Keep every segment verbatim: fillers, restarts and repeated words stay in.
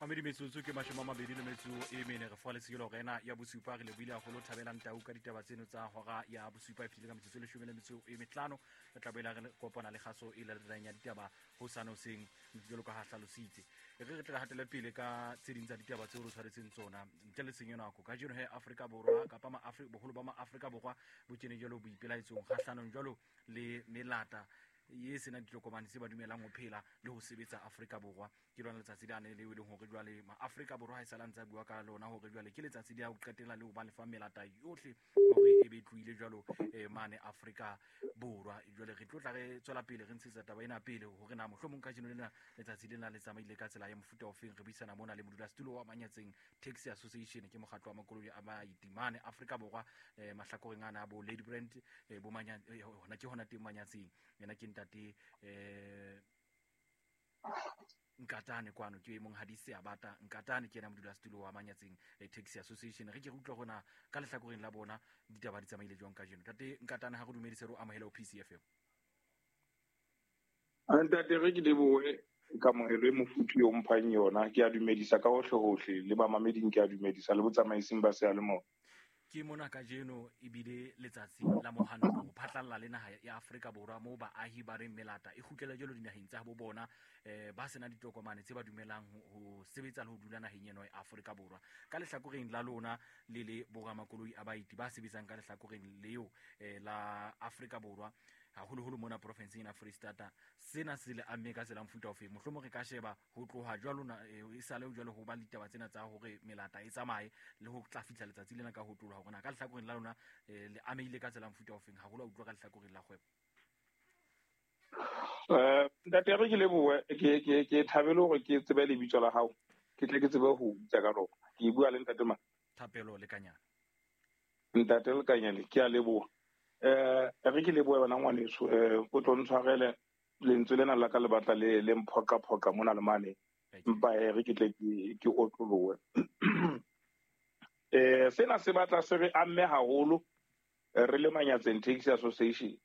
Mamedi metsotso ke mashome a mabedi le metso e mene re fola lesekelo hora ena ya bosupa. Re lebohile haholo Thabelang Tau ka ditaba tseno tsa hora ya bosupa e fetile ka metsotso e leshome le metso e mehlano. Re tla boela re kopana le kgaso e latelang ya ditaba hosane hoseng jwalo ka ha hlalositse. E re re tle re hatele pele ka tse ding tsa ditaba tseo re tshwaretseng tsona ntle le tshenyo nako. Kajeno he Afrika Borwa kapa ma-Afri-, boholo ba ma-Afrika Borwa bo kene jwalo boipelaetsong kgahlanong jwalo le melata ye senang ditokomane tse ba dumelang ho phela le ho sebetsa Afrika Borwa. Ke lona letsatsi lane leo e leng hore jwale ma-Afrika Borwa ha e sale a ntse a bua ka lona hore jwale ke letsatsi le ya ho qetela le ho ba lefa melata yohle hore e be tlohile jwalo eh, mane Afrika Borwa. Jwale re tlo tla re tswela pele re ntshetsa taba ena pele hore na mohlomong kajeno lena letsatsi lena le tsamaile ka tsela ya mofuta ofeng. Re buisana mona le modulasetulo wa Manyatseng Taxi Association, ke mokgatlo wa makoloi a baeti mane Afrika Borwa, eh, mahlakoreng ana a bo Lady Brand, eh, bo Manya-, eh, hona ke hona teng Manyatseng. Yena ke ntate eh, Nkatane kwano, ke monghadi Seabata Nkatane, ke yena modulasetulo wa Manyatseng eh, Taxi Association. Re ke re utlwa hore ka lehlakoreng la bona ditaba di tsamaile jwang kajeno. Ntate Nkatane, ha re dumedise, re o amohele ho P C F M. Ntate, re ke lebohe kamohelo e mofuthu eo mphang yona. Ke a dumedisa ka hohle hohle, le bamameding ke a dumedisa, le botsamaising ba seyalemoya. Ke mona kajeno ebile letsatsi la mohanto ho phatlalla le naha ya Afrika Borwa moo baahi ba reng melata e kgutlela jwalo dinaheng tsa bo bona, eh, ba sena ditokomane tse ba dumelang ho, ho sebetsa le ho dula naheng eno ya Afrika Borwa. Ka lehlakoreng la lona le le boramakoloi a baeti ba sebetsang ka lehlakoreng leo, eh, la Afrika Borwa, haholoholo mona porofenseng ya Freistata, sena se le amme ka tsela mofuta ofe? Mohlomong re ka sheba ho tloha jwalo na, eh, e sale jwalo ho ba le ditaba tsena tsa hore melata e tsamaye le ho tla fihla letsatsi lena ka ho tloha hore na ka lehlakoreng la lona, eh, le amehile ka tsela mofuta ofeng, haholo a utlwa ka lehlakoreng la kgwebo? Eh, ntate, re ke lebohe, ke, ke, ke thabele hore ke tsebe lebitso la hao, ke tle ke tsebe ho bitsa ka lona. Ke bua le ntate mang? Thapelo Lekanyane. Ntate Lekanyane, ke a leboha. Eh, re ke lebohe wena ngwaneso, eh, o tlo ntshwarele lentswe lena la ka le batla le, le mphoqaphoqa mona le mane, empa eh, re ke tle ke, ke otlolohe. Eh, sena se batla se re amme haholo, eh, re le Manyatseng Taxi Association.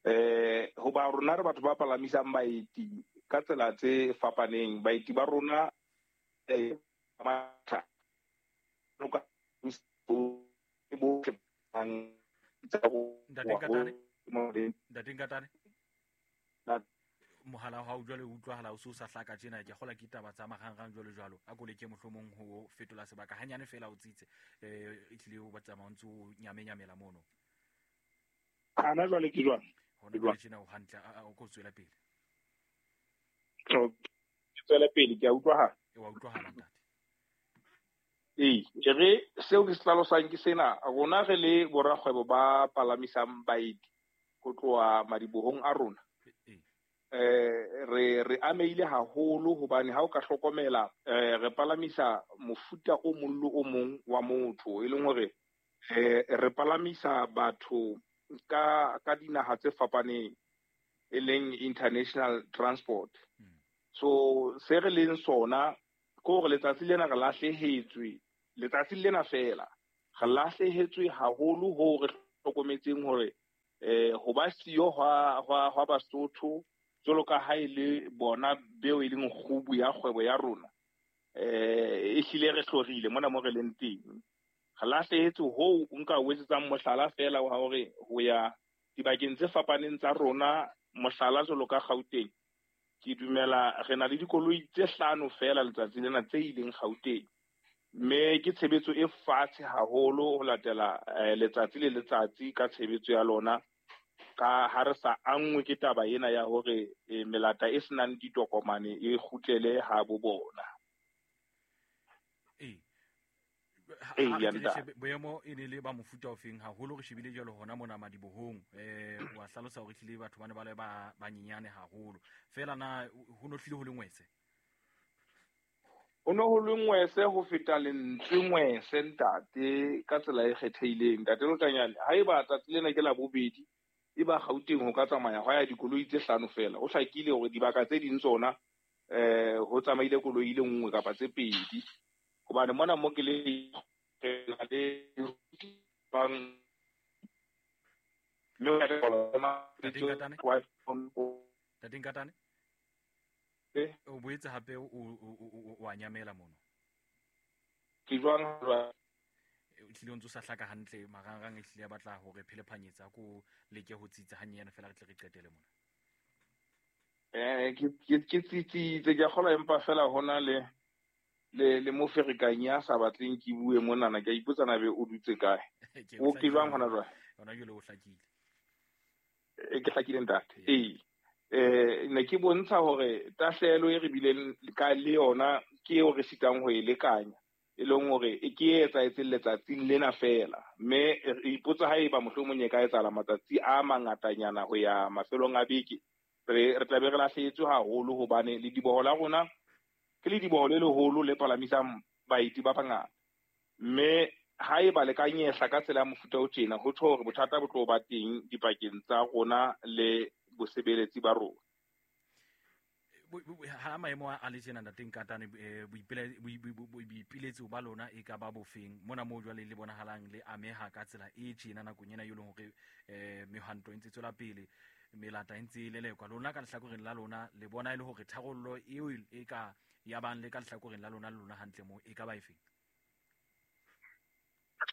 Eh, hoba rona re batho ba palamisang baeti ka tsela tse fapaneng. Baeti ba rona, eh, matha, loka, bohle bang Ntate Nkatane? Ntate Nkatane? Mohala wa hao jwale o utlwahala o se o sa hlaka tjena, ke kgolwa ke taba tsa marangrang jwalo jwalo. A ko leke mohlomong ho fetola sebaka hanyane feela o tsitse, eh, e tlile o ba tsamaya o ntso o nyamenyamela mono. Hana jwale ke jwang? Hona jwale tjena o hantle, a, a, o ko tswela pele. Ke tswela pele, ke a utlwahala. E wa utlwahala ntate. Ee, ke re seo ke se hlalosang ke sena, rona re le borakgwebo ba palamisang baeti ho tloha madibohong a rona. Eh, re, re amehile haholo hobane ha o ka hlokomela, eh, re palamisa mofuta o mong le o mong wa motho, e leng hore, eh, re palamisa batho ka, ka dinaha tse fapaneng, e leng international transport. So se re leng sona ke hore letsatsi lena re lahlehetswe, letsatsi lena feela re lahlehetswe haholo hoo re hlokometseng hore, eh, ho ba siyo hwa, hwa, hwa Basotho jwalo ka ha e le bona beo e leng kgubu ya kgwebo ya rona, eh, ehlile re hlorile mona mo re leng teng. Re lahlehetswe hoo nka o etsetsang mohlala feela wa hore ho ya dibakeng tse fapaneng tsa rona, mohlala jwalo ka Gauteng, ke dumela re na le dikoloi tse hlano feela letsatsi lena tse ileng Gauteng, mme ke tshebetso e fatshe haholo ho latela, eh, letsatsi le letsatsi ka tshebetso ya lona, ka ha re sa anngwe ke taba ena ya hore, eh, melata e senang ditokomane e kgutlele ha bo bona. Ee. Ha, Ee, ha ya re ntate. shebe boemo e ne le ba mofuta ofeng haholo, re shebile jwalo hona mona madibohong, eh, wa hlalosa hore ehlile batho ba ne ba le ba banyenyane haholo. Feela na ho no hlile ho le ngwese? Ho no ho le ngwese ho feta lentswe ngwese ntate, ka tsela e kgethehileng. Ntate Lekanyane, haeba tsatsi lena ke la bobedi, e ba Gauteng ho ka tsamaya hwa ya dikoloi tse hlano feela. Ho hlakile hore dibaka tse ding tsona, eh, ho tsamaile koloi e le nngwe kapa tse pedi. Hobane mona mo ke le re na le bang mme o ya Ntate Nkatane? Ntate Nkatane? O boetse hape o o a nyamela mono. Ke jwang jwang? O tlile o ntso sa hlaka hantle marangrang e tlile a batla hore phelephanyetsa ko leke ho tsitsa hanyane fela re tle re qetele mona. Eh ke ke tsitsitse ke a kgolwa empa fela hona le le le moferekanyi a sa batleng ke bue monana ke a ipotsa na be o dutse kae. O ke jwang hona jwale? Hona jwale o hlakile. E ke hlakile ntate. Ee. Eh ne ke bontsha hore tahlehelo e re bileng ka le yona ke eo re sitang ho e lekanya. E leng hore e ke e etsahetseng letsatsing lena fela mme re ipotsa haeba mohlomong e ka etsahala matsatsi a mangatanyana ho ya mafelong a beke re re tla be re lahlehetswe haholo hobane lediboho la rona ke lediboho le leholo le palamisang baeti ba bangata mme haeba le ka nyehla ka tsela ya mofuta o tjena ho tjho hore bothata bo tlo ba teng dipakeng tsa rona le bosebeletsi ba rona. Ha maemo a le tjena ntate Nkatane boipiletso ba lona e ka ba bofeng mona moo jwale le bonahalang le ameha ka tsela e tjena nakong ena e leng hore mehwanto e ntse tswela pele melata e ntse e lelekwa lona ka lehlakoreng la lona le bona e le hore tharollo eo e ka ya bang le ka lehlakoreng la lona le lona hantle moo e ka ba efeng?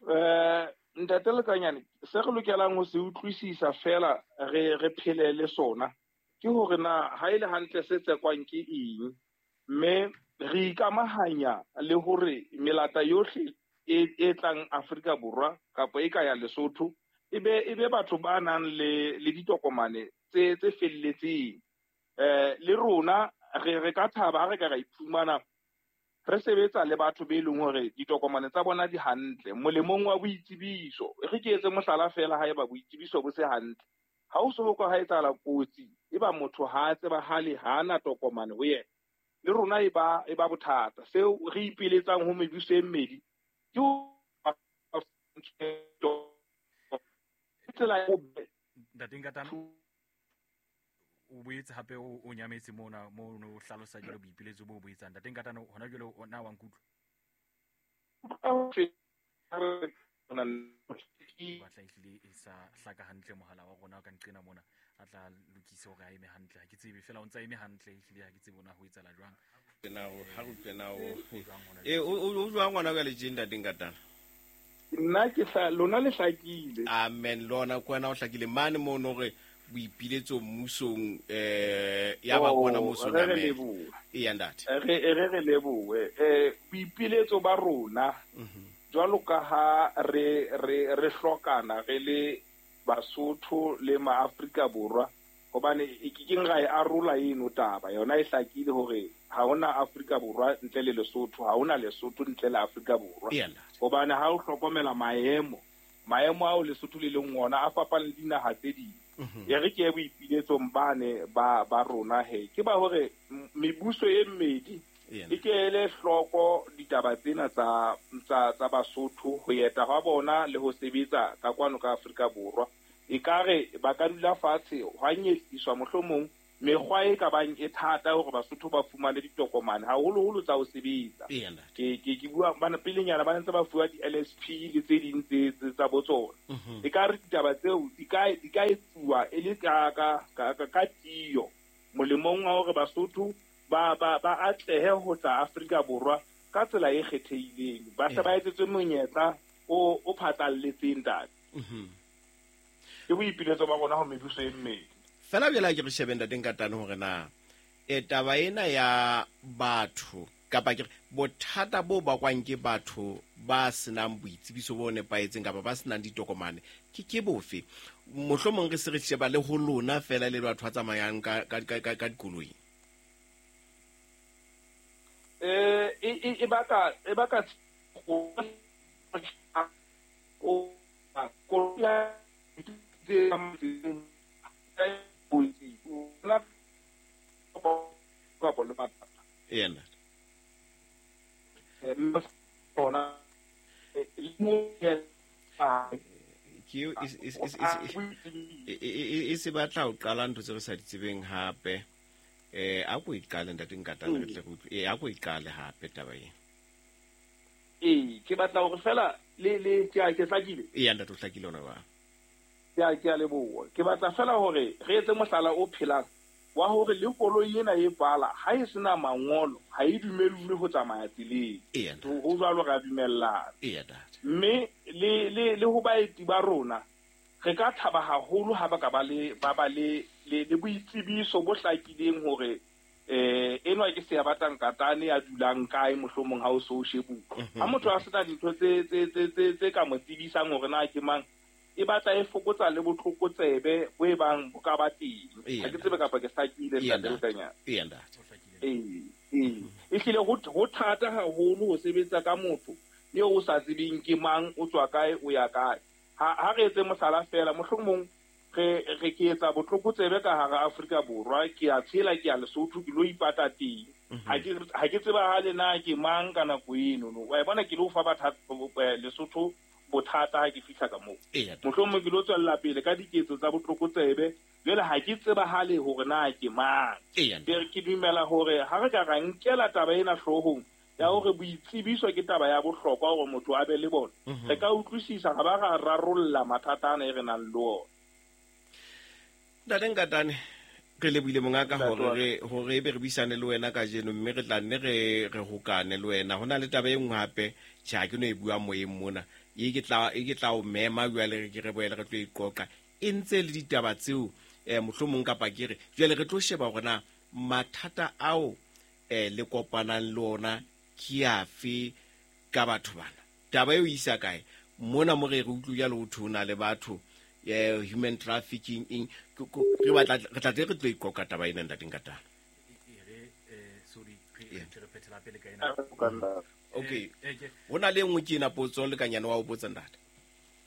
Eh ntate Lekanyane se re lokelang ho se utlwisisa fela re re phele le sona ke hore na ha ile hantle se tsekwang ke eng mme re ikamahanya le hore melata yohle e e tlang Afrika Borwa kapa e ka ya Lesotho ebe ebe batho ba nang le le ditokomane tse tse felletseng. Eh le rona re re ka thaba ha re ka ra iphumana re sebetsa le batho be leng hore ditokomane tsa bona di hantle molemong wa boitsebiso. Re ke etse mohlala fela haeba boitsebiso bo se hantle ha o so ho ka etsahala kotsi e ba motho ha a tsebahale ha ana tokomane ho yena le rona e ba e ba bothata. Seo re ipeletsang ho mebuso e mmedi ke tsela ya ntate Nkatane o boetse hape o nyametse mona mo o hlalosa jwale boipiletso bo bo etsang. Ntate Nkatane hona jwale o na wa nkutlwa? Batla ehlile e sa hlaka hantle mohala wa rona ka nqena mona a tla lokise hore a eme hantle. Ha ke tsebe fela o ntsa eme hantle ehlile ha ke tsebe ona ho etsahala jwang. Tena o ha re utlwe o e o jwang ngwana ka le tjena ntate Nkatane? Nna ke hla lona le hlakile. Amen lona kwena o hlakile mane mono re boipiletso mmusong eh ya ba bona mmusong amen. E ya ntate. Re re re lebohe. Eh boipiletso ba rona jwalo ka ha re re re hlokana re le Basotho le maAfrika Borwa hobane e ke keng ra e arola eno taba yona e hlakile hore ha hona Afrika Borwa ntle le Lesotho ha hona Lesotho ntle le Afrika Borwa hobane ha o hlokomela maemo maemo ao Lesotho le leng ona a fapana le dinaha tse ding. E re ke boipiletsong bane ba ba rona he ke ba hore mebuso e mmedi e ke ele hloko ditaba tsena tsa tsa tsa Basotho ho eta hwa bona le ho sebetsa ka kwano ka Afrika Borwa. E ka re ba ka dula fatshe hwa nyehliswa mohlomong mekgwa e ka bang e thata hore Basotho ba fumane ditokomane haholoholo tsa ho sebetsa. Ke ke ke bua bana pelenyana ba ntse ba fuwa di-L S P le tse ding tse tsa botsona. E ka re ditaba tseo di ka di ka etsuwa e le ka ka ka ka tiyo molemong wa hore Basotho ba ba ba atlehe ho tla Afrika Borwa ka tsela e kgethehileng ba se ba etsetswe monyetla o o phatlalletseng ntate. Ke boipiletso ba rona ho mebuso e mmedi. Fela bjale ke re shebe ntate Nkatane hore na e taba ena ya batho kapa ke bothata bo bakwang ke batho ba senang boitsebiso bo nepahetseng kapa ba senang ditokomane ke ke bofe mohlomong re se re sheba le ho lona fela le batho ba tsamayang ka ka ka ka dikoloi. Eh e e baka e baka o ko Yena. Ke e se batla ho qala ntho tse re sa di tsebeng hape. Eh a ko iqale ntate Nkatane re tle re utlwe. Eh a ko iqale hape taba ena. Eh ke batla hore fela le le ke a ke hlakile. Ee ntate o hlakile ona ba. Ke a ke a leboha. Ke batla fela hore re etse mohlala o phelang. wa hore le koloi ena e pala ha e sena mangolo ha e dumellwe ho tsamaya tseleng. Ho jwalo ra dumellana. Mme le le le ho baeti ba rona re ka thaba haholo ha ba ka ba le ba ba le le boitsebiso bo hlakileng hore eh enwa ke se ya batlang katane ya dulang kae mohlomong ha o so shebuka. Ha motho a sena dintho tse tse tse tse ka mo tsebisang hore na ke mang, e batla e fokotsa le botlokotsebe bo e bang bo ka ba teng. Ha ke tsebe kapa ke hlakile ntate Lekanyana. Ee ntate. Ee, ee. Ehlile ho ho thata haholo ho sebetsa ka motho eo o sa tsebeng ke mang, o tswa kae, o ya kae. Ha ha re etse mohlala fela, mohlomong re re ke etsa botlokotsebe ka hara Afrika Borwa, ke a tshela ke a Lesotho, ke lo ipata teng. Ha ke ha ke tseba ha le na ke mang ka nako eno no. Wa bona ke lo fa batho Lesotho bothata ha ke fihla ka moo. Mohlomong ke lo tswella pele ka diketso tsa botlokotsebe, jwale ha ke tseba hale hore na ke mang. Ke dumela hore ha re ka ra nkela taba ena hloohong ya hore boitsebiso ke taba ya bohlokwa hore motho a be le bona, re ka utlwisisa ga ba ra rarolla mathata ana e re nang le ona. Ntate Nkatane, re lebohile mongaka hore re hore ebe re buisane le wena kajeno, mme re tla nne re re hokane le wena. Ho na le taba e nngwe hape, tjhe ha ke no e bua moyeng mona, e ke tla e ke tla o mema jwale re ke re boele re tlo e qoqa. E ntse le ditaba tseo eh mohlomong kapa ke re jwale re tlo sheba hore na mathata ao eh le kopanang le ona ke afe ka batho bana. Taba eo isa kae mona mo re re utlwe jalo ho thona le batho eh human trafficking eng, re batla re tla re tlo iqoqa taba ena ntate Nkatane. E re eh sorry re re phethela pele ka ena. Okay, hona le nngwe ke ena potso le kanyana wa o botsa ntate.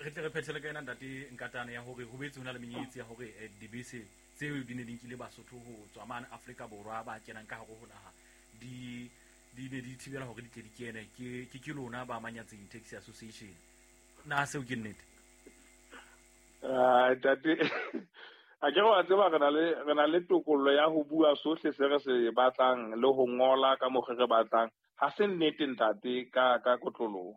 Re tle re phethele ka ena ntate Nkatane ya hore ho betse hona le menyetsi ya hore dibese tseo di ne di nkile Basotho ho tswa mane Afrika Borwa ba kenang ka hare ho naha di di ne di thibela hore di tle di kene ke ke ke lona ba Manyatseng Taxi Association. Na seo ke nnete? Ah ntate, a ke wa tseba re na le re na le tokollo ya ho bua sohle se re se batlang le ho ngola ka mokgwa re batlang. Ha se nnete ntate ka ka kotloloho.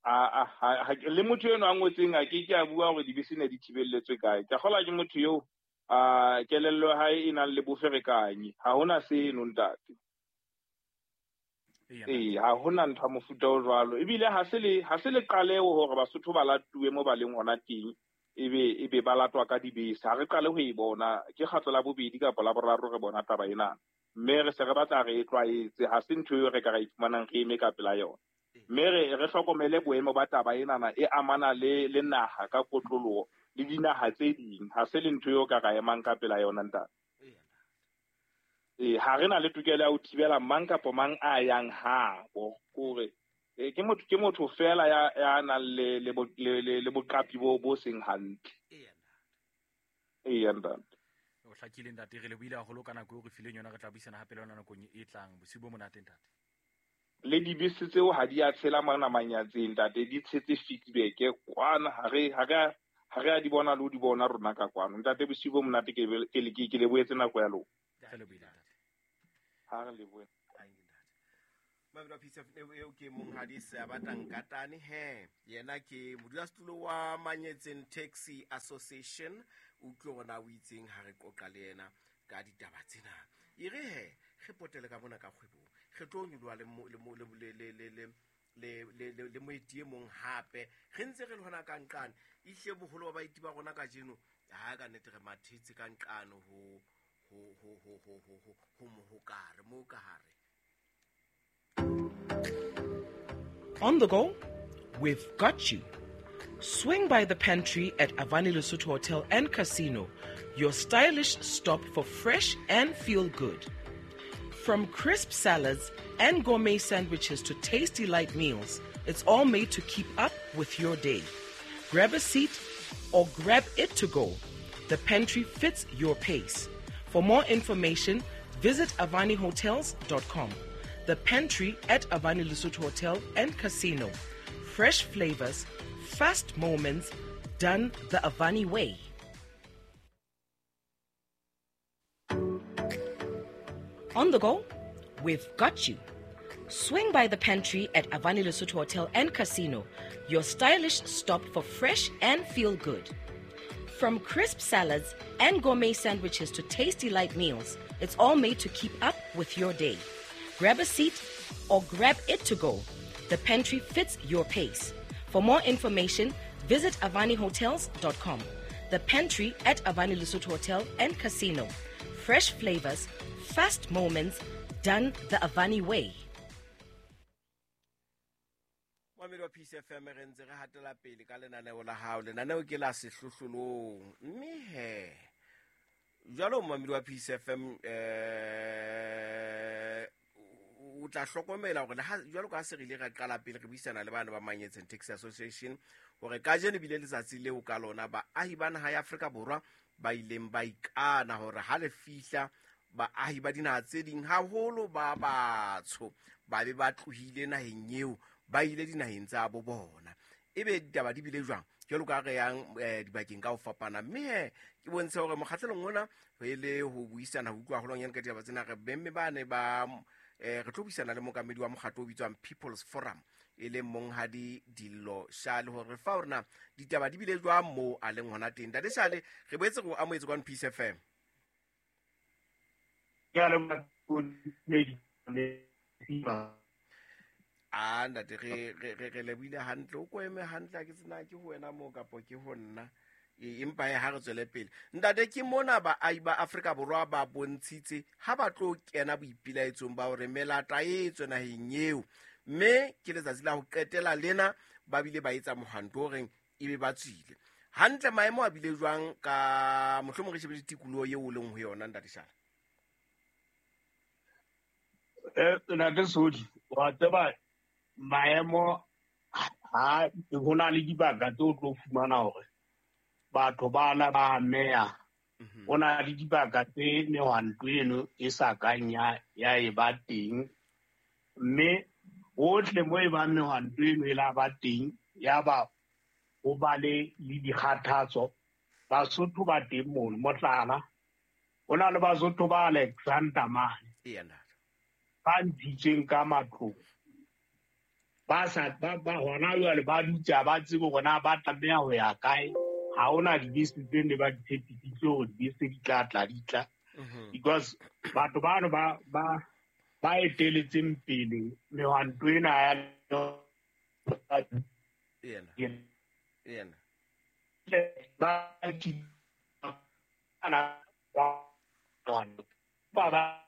A a le motho eno a ngotseng a ke ke a bua hore dibese ne di thibelletswe kae. Ke kgola ke motho eo a kelello ya hae e nang le boferekanyi. Ha hona seno ntate. Ee, ha hona ntho ya mofuta o jwalo. Ebile ha se le ha se le qaleho hore Basotho ba latuwe mo ba leng hona teng, ebe ebe ba latwa ka dibese. Ha re qale ho e bona, ke kgetlo la bobedi kapa la boraro re bona taba ena. Mme re se re batla re e tlwaetse, ha se ntho eo re ka ra ifumanang re eme ka pela yona. Mme re re hlokomele boemo ba taba enana e amana le le naha ka kotloloho le dinaha tse ding. Ha se le ntho eo ka ra emang ka pela yona ntate. Eh ha re na le tokelo ya ho thibela mang kapa mang a yang habo, kore eh ke motho ke motho fela ya ya nang le le le le boqapi bo bo seng hantle. Ee ntate. O hlakile ntate, re lebohile haholo ka nako eo re fileng yona. Re tla buisana hape le yona nakong e tlang. Bosiu bo monate ntate. Le dibese tseo ha di a tshela mona Manyatseng ntate, di tshetse feedback kwana, ha re ha re ha re a di bona le ho di bona rona ka kwano. Ntate bosiu bo monate, ke ke ke lebohetse nako ya lona. Re lebohile ntate. Ha re lebohe. Mabelo P C F eo ke monghadi Seabata Nkatane he yena ke modulasetulo wa Manyetseng Taxi Association. Utlwe hore na o itseng ha re qoqa le yena ka ditaba tsena. E re he re potele ka mona ka kgwebong, re tlo nyoloha le le le le le le le le moeti e mong hape. Re ntse re le hona ka nqane, ehlile boholo ba baeti ba rona kajeno ha ka nnete re mathetse ka nqane ho ho ho ho ho ho ho ho mohokare mo ka hare. On the go, we've got you. Swing by the pantry at Avani Lesotho Hotel and Casino, your stylish stop for fresh and feel good. From crisp salads and gourmet sandwiches to tasty light meals, it's all made to keep up with your day. Grab a seat or grab it to go. The pantry fits your pace. For more information, visit avani hotels dot com. The pantry at Avani Lesotho Hotel and Casino. Fresh flavors, fast moments, done the Avani way. On the go, we've got you. Swing by the pantry at Avani Lesotho Hotel and Casino, your stylish stop for fresh and feel good. From crisp salads and gourmet sandwiches to tasty light meals, it's all made to keep up with your day. Grab a seat or grab it to go. The Pantry fits your pace. For more information, visit avani hotels dot com. The Pantry at Avani Lesotho Hotel and Casino. Fresh flavors, fast moments, done the Avani way. Mamedi wa P C F M, re ntse re hatela pele ka lenaneo la hao. Lenaneo ke la sehlohlolong. Mme he, jwalo mamedi wa P C F M, eh o tla hlokomela hore le ha jwalo ka se re ile ra qala pele re buisana le bana ba Manyetseng Taxi Association hore kajeno bile letsatsi leo ka lona baahi ba naha ya Afrika Borwa ba ileng ba ikana hore ha le fihla baahi ba dinaha tse ding haholo ba batsho ba be ba tlohile naheng eo ba ile dinaheng tsa bo bona. Ebe ditaba di bile jwang jwalo ka re yang dibakeng ka ho fapana. Mme ke bontshe hore mokgatlelong ona re le ho buisana ho utlwa haholwanyane ka ditaba tsena re bemme ba ne ba eh re tlo buisana le mokamedi wa mokgatlo o bitswang People's Forum e leng monghadi Dillo Shale hore fa hore na ditaba di bile jwang moo a leng hona teng. Ntate Shale, re boetse re o amohetse kwa P C F M. A ntate re re re lebohile hantle, o ko eme hantle, ha ke tsena ke ho wena moo kapo ke ho nna. Empa ha re tswele pele. Ntate, ke mona baahi ba Afrika Borwa ba bontshitse ha ba tlo kena boipelaetsong ba hore melata e tswe naheng eo, mme ke letsatsi la ho qetela lena ba bile ba etsa mohwanto o reng ebe ba tswile. Hantle maemo a bile jwang ka mohlomong re shebe tikoloho eo o leng ho yona, ntate Shala? Eh, ntate Sodi, wa tseba maemo ha ho na le dibaka tse o tlo fumana hore batho bana ba ameha. Ho na le dibaka tse mehwanto eno e sa kang ya ya e ba teng, mme hohle mo e bang mehwanto eno e la ba teng ya ba ho ba le le dikgathatso. Basotho ba teng mono, mohlala ho na le Basotho ba Alexander mane ba ntshitsweng ka matlong, ba sa ba ba hona jwale ba dutse ha ba tsebe hore na ba tlameha ho ya kae. Ha hona dibese tse ne ba di tshepisitse hore dibese di tla tla di tla, because batho bano ba ba ba eteletseng pele mehwanto ena ya yena yena ba ana ba ba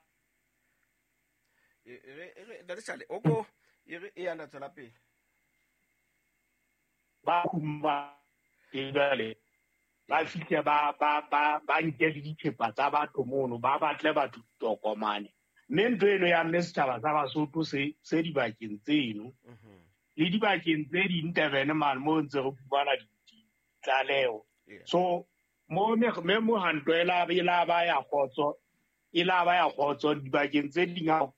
re re ntate Shale o ko e re e yana tswela pele ba kuma jwale ba fihle ba ba ba ba nke le dithepa tsa batho mono, ba batle batho ditokomane. Mme ntho eno ya mme setjhaba sa Basotho se se dibakeng tseno le dibakeng tse ding Durban mane mo ntse re fumana ditlaleho. So mo me mohwanto e la e la ba ya kgotso e la ba ya kgotso dibakeng tse ding ha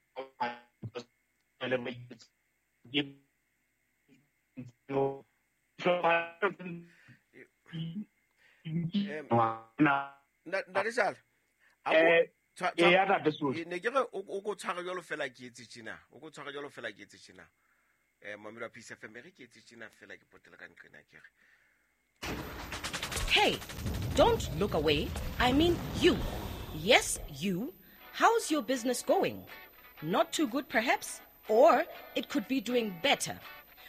Ntate Shale, ne ke re o ko tshware jwalo fela ke etse tjena, o ko tshware jwalo fela ke etse tjena. Eh mamedi wa P C F M, re ke etse tjena fela ke potela ka nqena ke re. Hey, don't look away. I mean you. Yes, you. How's your business going? Not too good perhaps, or it could be doing better.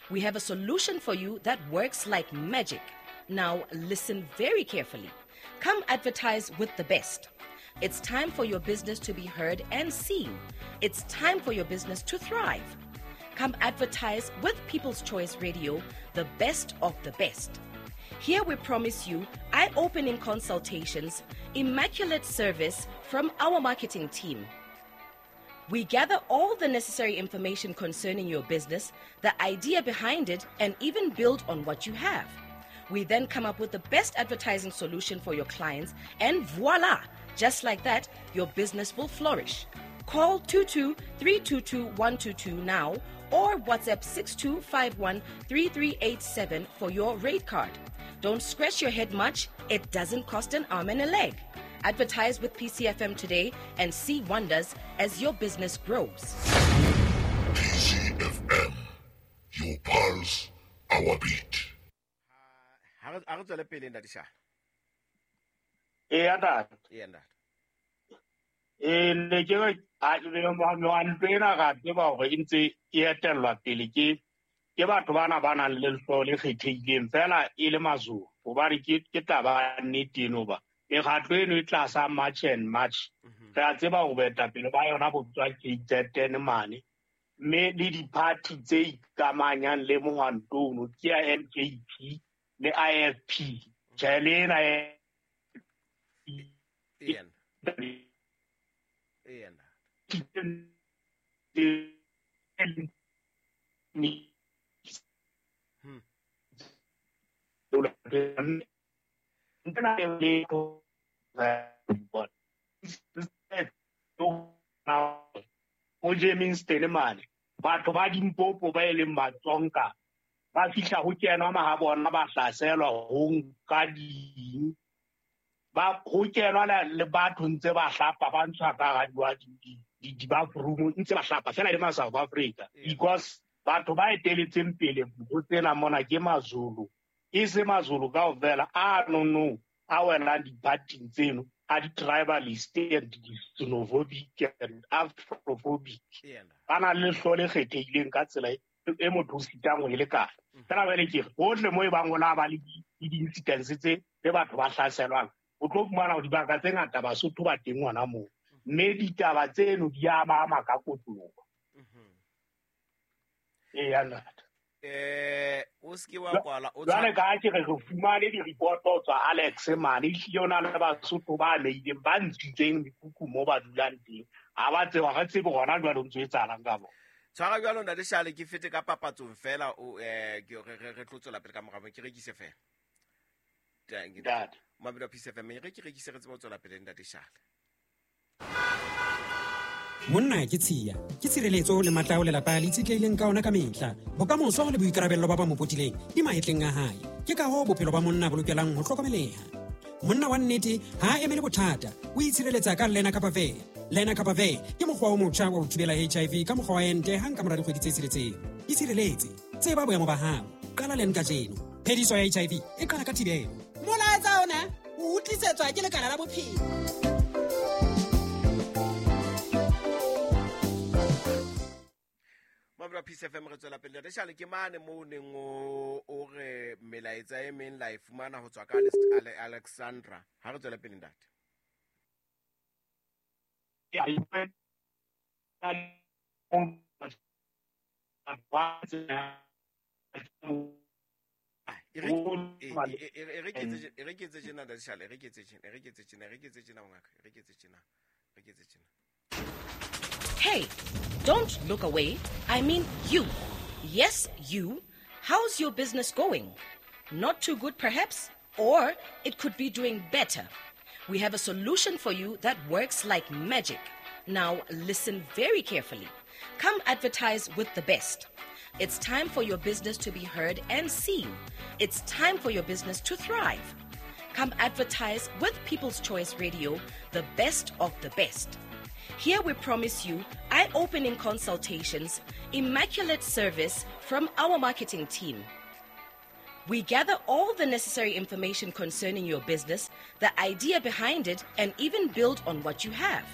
We have a solution for you that works like magic. Now listen very carefully. Come advertise with the best. It's time for your business to be heard and seen. It's time for your business to thrive. Come advertise with People's Choice Radio, the best of the best. Here we promise you eye-opening consultations, immaculate service from our marketing team. We gather all the necessary information concerning your business, the idea behind it, and even build on what you have. We then come up with the best advertising solution for your clients, and voila! Just like that, your business will flourish. Call two two three two two one two two now or WhatsApp six two five one three three eight seven for your rate card. Don't scratch your head much. It doesn't cost an arm and a leg. Advertise with P C F M today and see wonders as your business grows. P C F M, your pulse, our beat. Ha re tswele pele ntate Shale. Eya ntate. Eya ntate. E ne ke re a ntlo ena ra tseba hore e ntse e etellwa pele ke ke batho bana ba nang le lehloyo le kgethehileng fela e le Mazulu, hobane ke ke taba ya nnete eno ba mekgatlo eno e tlasa March and March. Re a tseba hore boetapele ba yona bo tswa K Z N mane, mme le di-party tse ikamanyang le mohwanto ono ke ya M K P le I F P. Tjhe, le ena Eya. Eya ntate. Hmm. O Germiston mane batho ba Limpopo ba e leng Batsonga ba fihla ho kenwa mahabona ba hlaselwa ho nka ding ba ho kenwa le batho ntse ba hlapa ba ntshwa ka hara di di bathroom ntse ba hlapa fela le ma South Africa, because batho ba eteletseng pele ho tsena mona ke Mazulu, e se Mazulu kaofela a no no a welang di-party tseno a di-tribalist and di-xenophobic and afrophobic. Ba na le lehloyo le kgethehileng ka tsela e motho o sitang ho e lekana. Fela jwale ke re hohle moo e bang ho la ba le di-incidents tse le batho ba hlaselwang, o tlo fumana hore dibaka tse ngata Basotho ba teng hona moo, mme ditaba tseno di a ba ama ka kotloloho. Eya ntate. Eh o se ke wa kwala o jwale ka ke re re fumane di-report ho tswa Alex mane, ehlile ho na le Basotho ba amehileng ba ntshitseng mekhukhu moo ba dulang teng. Ha ba tseba, ha re tsebe hona jwale ho ntso etsahalang ka bona. Tshwara jwalo ntate Shale, ke fete ka papatsong fela o eh ke re re tlo tswela pele ka morao, ke rekise fela. Ntate. Mabelo a P C F M, re ke rekise re tsebe ho tswela pele ntate Shale. Monna ke tshiya, ke tshireletso le matla ao lelapa le itshetlehileng ka ona ka mehla. Bokamoso le boikarabello ba ba mo potileng di mahetleng a hae. Ke ka hoo bophelo ba monna bo lokelang ho hlokomeleha. Monna wa nnete ha a emele bothata, o itshireletsa ka Lenacapavir. Lenacapavir ke mokgwa o motjha wa ho thibela H I V ka mokgwa wa ente hang ka mora dikgwedi tse tsheletseng. Itshireletse, tseba boemo ba hao. Qala len kajeno. Phediso ya H I V e qala ka thibelo. Molaetsa ona o utlisetswa ke Lekala la Bophelo. Mabra P C F M re tswela pele. Re shale ke mane mo neng o o re melaetsa e meng la e fumana ho tswa ka Alexandra. Ha re tswela pele ntate. E re ke etse tjena ntate Shale, e re ke etse tjena, e re ke etse tjena, e re ke etse tjena ngaka, e re ke etse tjena, e re ke etse tjena. Hey, don't look away. I mean you. Yes, you. How's your business going? Not too good, perhaps? Or it could be doing better. We have a solution for you that works like magic. Now, listen very carefully. Come advertise with the best. It's time for your business to be heard and seen. It's time for your business to thrive. Come advertise with People's Choice Radio, the best of the best. Here we promise you eye-opening consultations, immaculate service from our marketing team. We gather all the necessary information concerning your business, the idea behind it, and even build on what you have.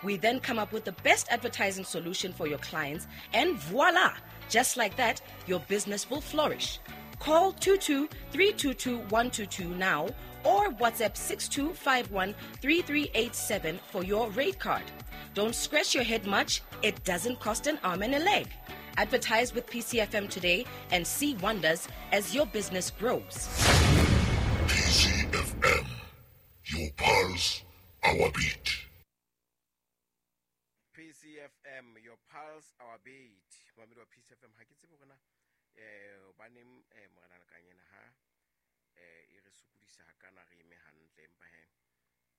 We then come up with the best advertising solution for your clients, and voila! Just like that, your business will flourish. Call two two three two two one two two now or WhatsApp six two five one three three eight seven for your rate card. Don't scratch your head much. It doesn't cost an arm and a leg. Advertise with P C F M today and see wonders as your business grows. P C F M, your pulse, our beat. P C F M, your pulse, our beat. Mamedi wa P C F M, ha ke tsebe hore na eh hobaneng eh morena Lekanyana ha eh e re sokodisa hakana re eme hantle, empa he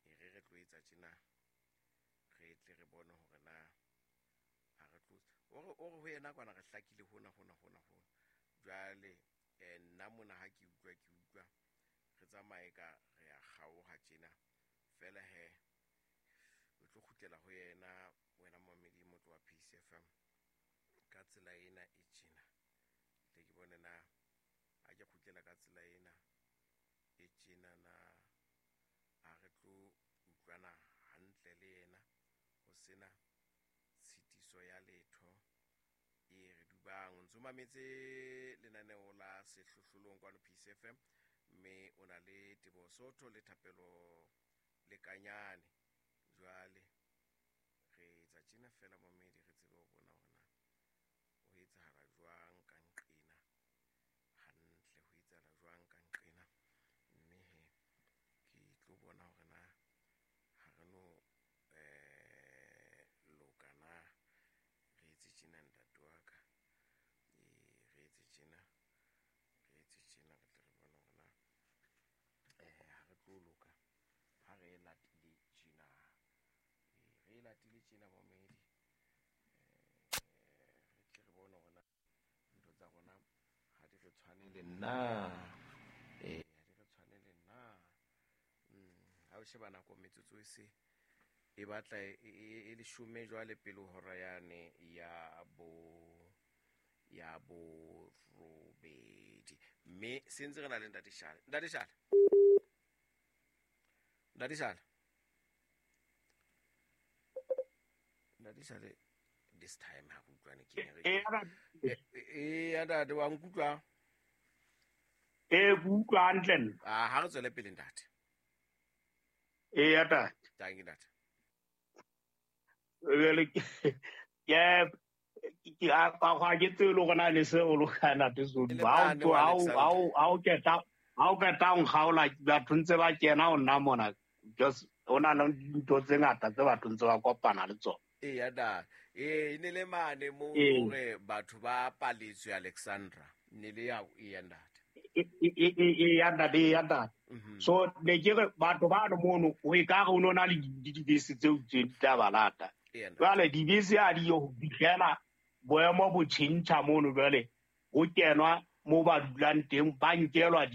e re re tlo etsa tjena, re tle re bone hore na ha re tlo o re o re ho yena kwana re hlakile hona hona hona hona. Jwale eh nna mona ha ke utlwa ke utlwa re tsamaye ka re a kgaoha tjena fela he o tlo kgutlela ho yena wena momedi motho wa P C F M ka tsela ena e tjena. Tle ke bone na ha ke kgutlela ka tsela ena e tjena na ha re tlo utlwana hantle le yena ho sena tshitiso ya letho e re dubang. O ntso mametse lenaneo la Sehlohlolong kwano P C F M, mme o na le Teboho Sotho le Thapelo Lekanyane. Jwale re etsa tjena fela momedi, re tsebe ho bona hore na ho etsahala jwang ka nqena hantle, ho etsahala jwang ka nqena. Mme he ke tlo bona hore na ha re no eh loka na re etse tjena ntate wa ka, eh re etse tjena, re etse tjena, re tle re bone hore na eh ha re tlo loka ha re latile tjena, eh re latile tjena momedi, eh re tle re bone hore na ntho tsa rona ha di re tshwane le nna, eh ha di re tshwane le nna. Ha o sheba nako metsotso e se e batla e leshome jwale pele hora yane ya bo ya bo robedi, mme se ntse re na le ntate Shale. Ntate Shale, ntate Shale, ntate Shale, this time ha re utlwane ke eng re e ya ntate wa nkutlwa? E ke utlwa hantle nna. Ah, ha re tswele pele ntate. E ya ntate. Thank you ntate. Jwale ke ke a ga ke tsebe le gore na le se o loka ntate Sodi. Ha o ha o ha o keta ha o keta o nkgaola batho ntse ba kena ho nna mona, just ho na le dintho tse ngata tse batho ntse ba kopana le tsona. E ya da e ne le mane mo hore batho ba paletswe Alexandra ne le ya e ya ntate. E ya ntate, ya ntate. So ne ke re batho ba no mono o e ka re o nona le dibese tseo tse di tla ba lata. Jwale dibese ha di yo ho fihlela boemo bo tjhentjha mono, jwale ho kenwa mo ba dulang teng, ba nkelwa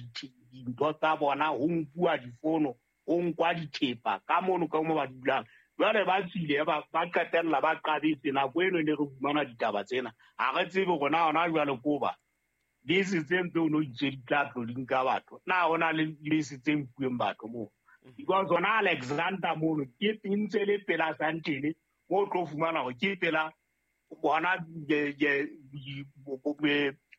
dintho tsa bona, ho nkuwa difono, ho nkwa dithepa ka mono ka mo ba dulang. Jwale ba tswile ba ba qetella ba qabetse nako eno ne re fumana ditaba tsena. Ha re tsebe hore na hona jwale ko ba bese tse ntse o no itse di tla tlo di nka batho, na hona le bese tse nkuweng batho moo? Because hona Alexander mono ke ntse le pela Santene mo tlo fumana hore ke pela bona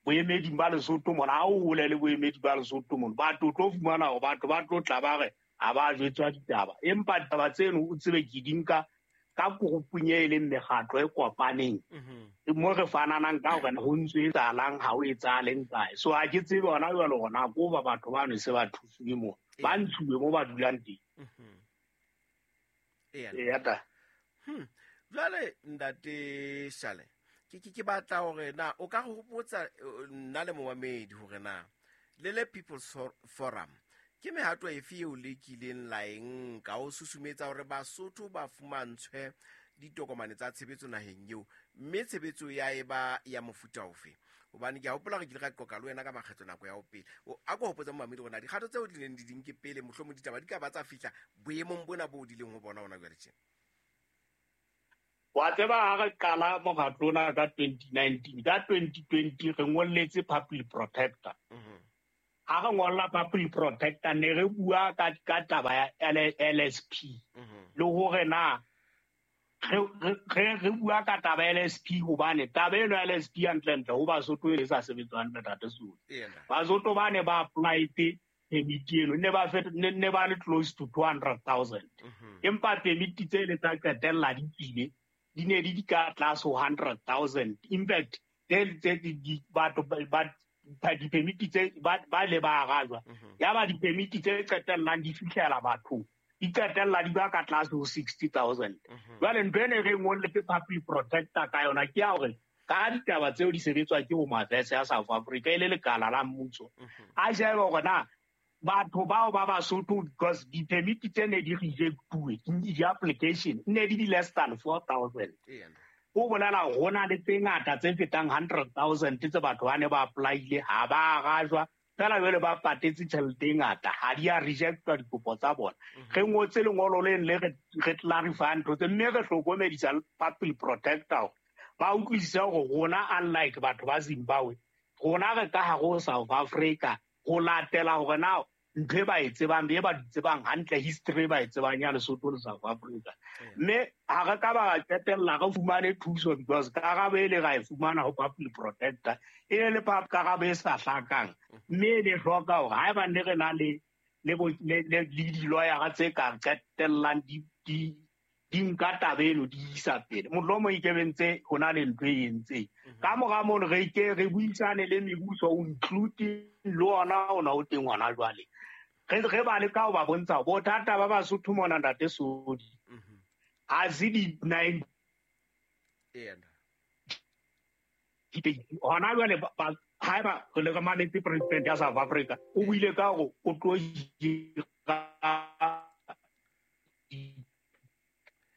boemedi ba Lesotho mona, ha o hole le boemedi ba Lesotho mona, batho tlo fumana hore batho ba tlo tla ba re ha ba jwetswa ditaba, empa ditaba tseno o tsebe ke di nka ka korupung e leng mekgatlo e kopaneng mo re fananang ka hore ho ntso etsahalang, ha o etsahaleng kae. So ha ke tsebe hona jwale hore na ko ba batho bano se ba thusuwe moo, ba ntshuwe mo ba dulang teng. Eya ta. Hmm. Jwale ntate Shale, ke ke ke batla hore na o ka hopotsa nna le momamedi hore na le le People's Forum ke mehato efe eo le kileng la e nka ho susumetsa hore Basotho ba fumantshwe ditokomane tsa tshebetso naheng eo, mme tshebetso ya eba ya mofuta ofe? Hobane ke a hopola hore ke ile ka qoqa le wena ka makgetlo nako ya ho pele. A ko hopotsa momamedi hore na dikgato tseo di neng di di nke pele, mohlomong ditaba di ka ba tsa fihla boemong bona bo di leng ho bona hona jwale tjena. Wa tseba ha re qala mokgatlo ona ka twenty nineteen, ka twenty twenty re ngolletse Public Protector. Ha re ngolla Public Protector ne re bua ka ka taba ya L S P le hore na re re re bua ka taba ya L S P hobane taba eno ya L S P hantlentle ho Basotho e sa sebetswa hantle ntate Sodi. Basotho ba ne ba apply-etse permit eno ne ba ne ba le close to two hundred thousand, empa permit tse le tsa qetella di tswile di ne di di ka tlase ho hundred thousand. In fact tse di batho ba dipermit tse ba le ba arajwa, ya ba dipermit tse qetellang di fihlela bathong di qetella di ba ka tlase ho sixty thousand. Jwale ntho ene re ngolletse Public Protector ka yona ke ya hore ka ditaba tseo di sebetswa ke Home Affairs ya South Africa e le lekala la mmuso, a shebe hore na batho bao ba Basotho, because dipermit tse ne di rejectuwe di-application ne di di less than four thousand. Ho bolela hore ho na le tse ngata tse fetang hundred thousand tse batho ba ne ba apply-ile ha ba arajwa, fela jwale ba patetse tjhelete e ngata, ha di a rejectwa dikopo tsa bona. Re ngotse lengolo leng le re clarify ntho tse, mme re hlokomedisa Public Protector ba utlwisise hore rona unlike batho ba Zimbabwe, rona re ka hare ho South Africa ho latela hore na ntho e ba e tsebang be ba di tsebang hantle history ba e tsebang ya Lesotho le South Africa. Mme ha re ka ba qetella re fumane thuso because karabo e le ra e fumana ho public protector e ne le karabo e sa hlakang, mme e ne hloka hore haeba ne re na le le le di-lawyer tse ka qetellang di di di nka taba eno di isa pele, mohlomong e kebe ntse ho na le ntho e entseng. Ka mora mono re ke re buisane le mebuso including le ona ona o teng hona jwale, re re ba le ka ho ba bontsha bothata ba Basotho mona ntate Sodi ha se di-nine hona jwale. Haeba re le re mametse president ya South Africa o buile ka hore o tlo hira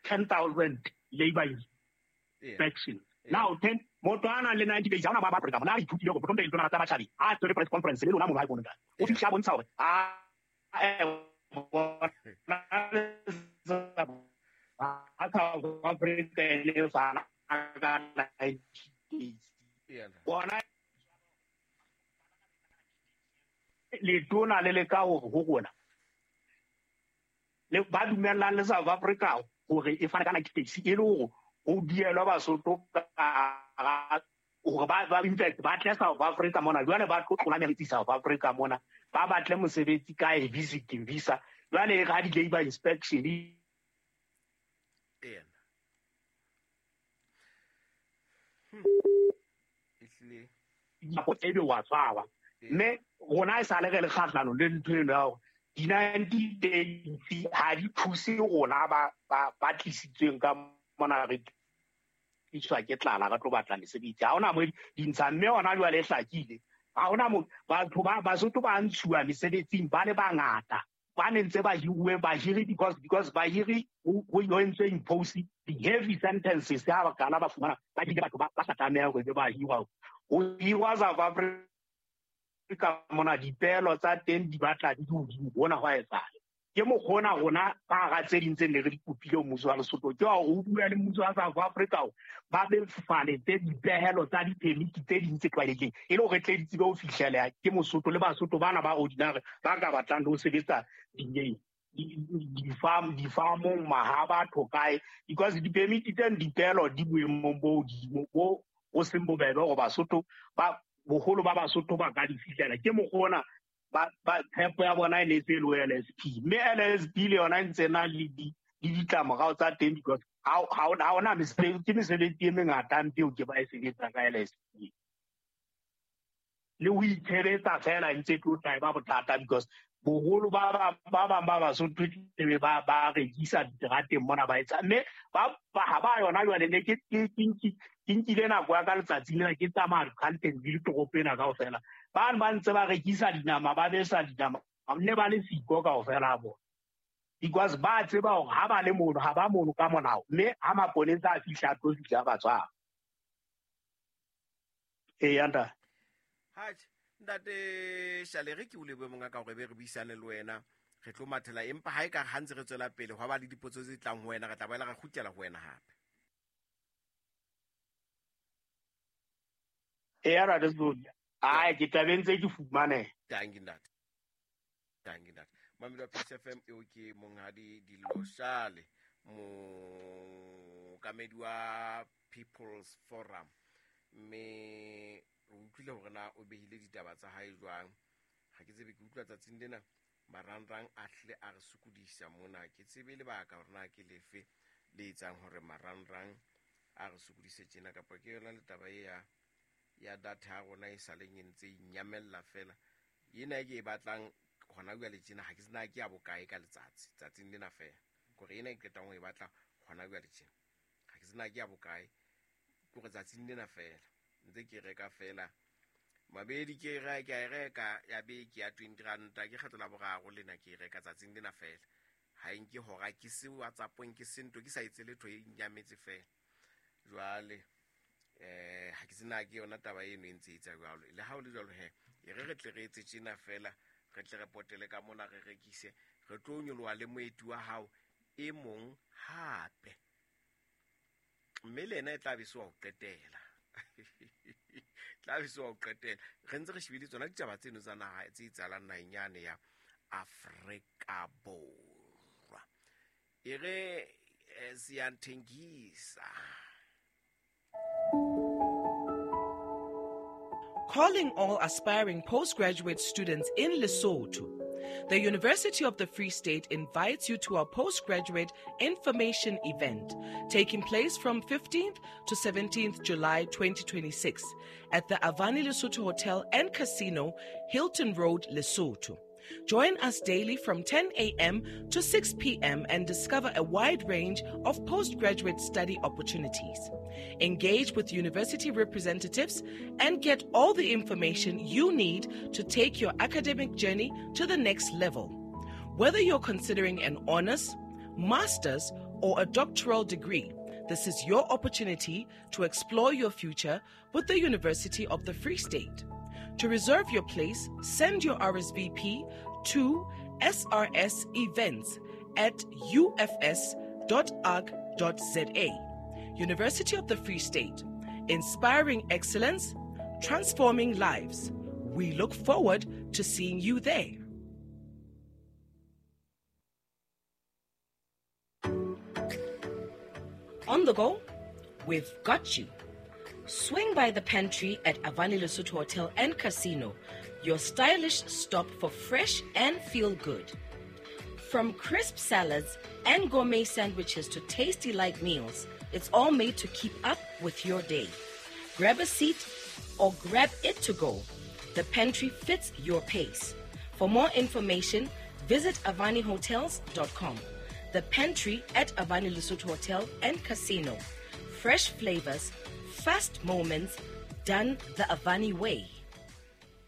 ten thousand labor inspection. Now ten motho a nang le ninety days ha ona ba ba Afrika mona a ithutile hore botlhong teng tsa batjhabi a tshwere press conference le lona mo ba bona o fihla bontsha hore a a South Africa le fana ka ninety days bona letona le le ka hore ho rona le ba dumellang le South Africa hore e fane ka ninety days e le hore ho dielwa Basotho ka hore ba ba in fact ba tle South Africa mona jwale ba tlo tlola meriti South Africa mona ba batle mosebetsi ka e visiting visa jwale ga di labor inspection ena ehlile go ebe wa tshaba. Mme rona e sale re le kgahlano le ntho eno ya hore di-ninety days ha di thuse rona ba ba tlisitsweng ka mona re tliswa ke tlala re tlo batla mesebetsi. Ha hona mo di ntsha, mme hona jwale e hlakile ha hona mo batho ba Basotho ba ntshuwa mesebetsing ba le bangata ba ne ntse ba hiruwe bahiri because because bahiri ho entswe impose the heavy sentences ha ba kana ba fumana ba dile batho ba sa tlameha hore ba hirwa ho hirwa South Africa mona dipelo tsa teng di batla di hodimo bona hwa etsala. Ke mokgona rona ka hara tse ding tse ne re di kopile mmuso wa Lesotho ke wa hore o bua le mmuso wa South Africa ba be faletse dipehelo tsa di-permit tse ding tse tlwaelehileng e le hore tle di tsebe ho fihleleha ke Mosotho le Basotho bana ba ordinary ba ka batlang le ho sebetsa dineng di-farm di-farmong maha batho kae because di-permit tseno dipehelo di boemong bo hodimo bo ho seng bobebe hore Basotho ba boholo ba Basotho ba ka di fihlela. Ke mokgona ba ba tshepo ya bona e ne se le L S P, mme L S P le yona e ntse na le di le ditlamorao tsa teng because ha ha hona mesebetsi ke mesebetsi e mengata mpe eo ke ba e sebetsa ka L S P le ho itshebetsa fela ntse tlo tla ba bothata because boholo ba ba ba bang ba Basotho ebe ba ba rekisa diterateng mona ba etsa mme ba ha ba yona jwale ne ke ke ke nkile nako ya ka letsatsi lena ke tsamaya Carltonville toropo ena kaofela ba ba ntse ba rekisa dinama ba besa dinama ne ba le siko kaofela bona because ba tseba hore ha ba le mono ha ba mono ka molao mme ha maponesa a fihla a tlo fihla ba tshwara. Eya ntate. Hatjhe ntate Shale re ke o lebohe monga ka hore be re buisane le wena re tlo mathela empa ha e ka ha ntse re tswela pele hwa ba le dipotso tse tlang ho wena re tla boela re kgutlela ho wena hape. Eya ntate Sodi. Ai ke tla be ntse ke fumane. Dankie ntate. Dankie ntate. Mamelo wa P C F M eo ke monghadi Dillo Shale mookamedi wa People's Forum mme re utlwile hore na o behile ditaba tsa hae jwang. Ha ke tsebe ke utlwa tsatsing lena marangrang a hle a re sokodisa mona ke tsebe lebaka hore na ke lefe le etsang hore marangrang a re sokodise tjena kapa ke yona le taba e ya ya data ya rona e saleng e ntse e nyamella fela ena e ke e batlang hona jwale tjena ha ke sena ke ya bokae ka letsatsi tsatsing lena fela kore ena e qetang ho e batla hona jwale tjena ha ke sena ke ya bokae kore tsatsing lena fela ntse ke reka fela mabedi ke reka ke reka ya beke ya twenty ranta ke kgetlo la boraro lena ke reka tsatsing lena fela ha e nke hora ke se WhatsApp-ong ke sento ke sa etse letho e nyametse fela jwale eh ha ke sena ke yona taba eno e ntse e etsa jwalo le ha o le jwalo he e re re tle re etse tjena fela re tle re potele ka mona re rekise re tlo nyoloha le moeti wa hao e mong hape mme le ena e tla be se wa ho qetela tla be se wa ho qetela re ntse re shebile tsona ditaba tseno tsa naha tse etsahalang naheng yane ya Afrika Borwa. E re siyathengisa. Calling all aspiring postgraduate students in Lesotho. The University of the Free State invites you to our postgraduate information event taking place from fifteenth to seventeenth July twenty twenty-six at the Avani Lesotho Hotel and Casino, Hilton Road, Lesotho. Join us daily from ten a.m. to six p.m. and discover a wide range of postgraduate study opportunities. Engage with university representatives and get all the information you need to take your academic journey to the next level. Whether you're considering an honors, master's, or a doctoral degree, this is your opportunity to explore your future with the University of the Free State. To reserve your place, send your R S V P to S R S events at U F S dot org dot Z A. University of the Free State, inspiring excellence, transforming lives. We look forward to seeing you there. On the go, we've got you. Swing by the pantry at Avani Lesotho Hotel and Casino, your stylish stop for fresh and feel good. From crisp salads and gourmet sandwiches to tasty light meals, it's all made to keep up with your day. Grab a seat or grab it to go. The pantry fits your pace. For more information, visit avani hotels dot com. The pantry at Avani Lesotho Hotel and Casino. Fresh flavors, fast moments, done the Avani way.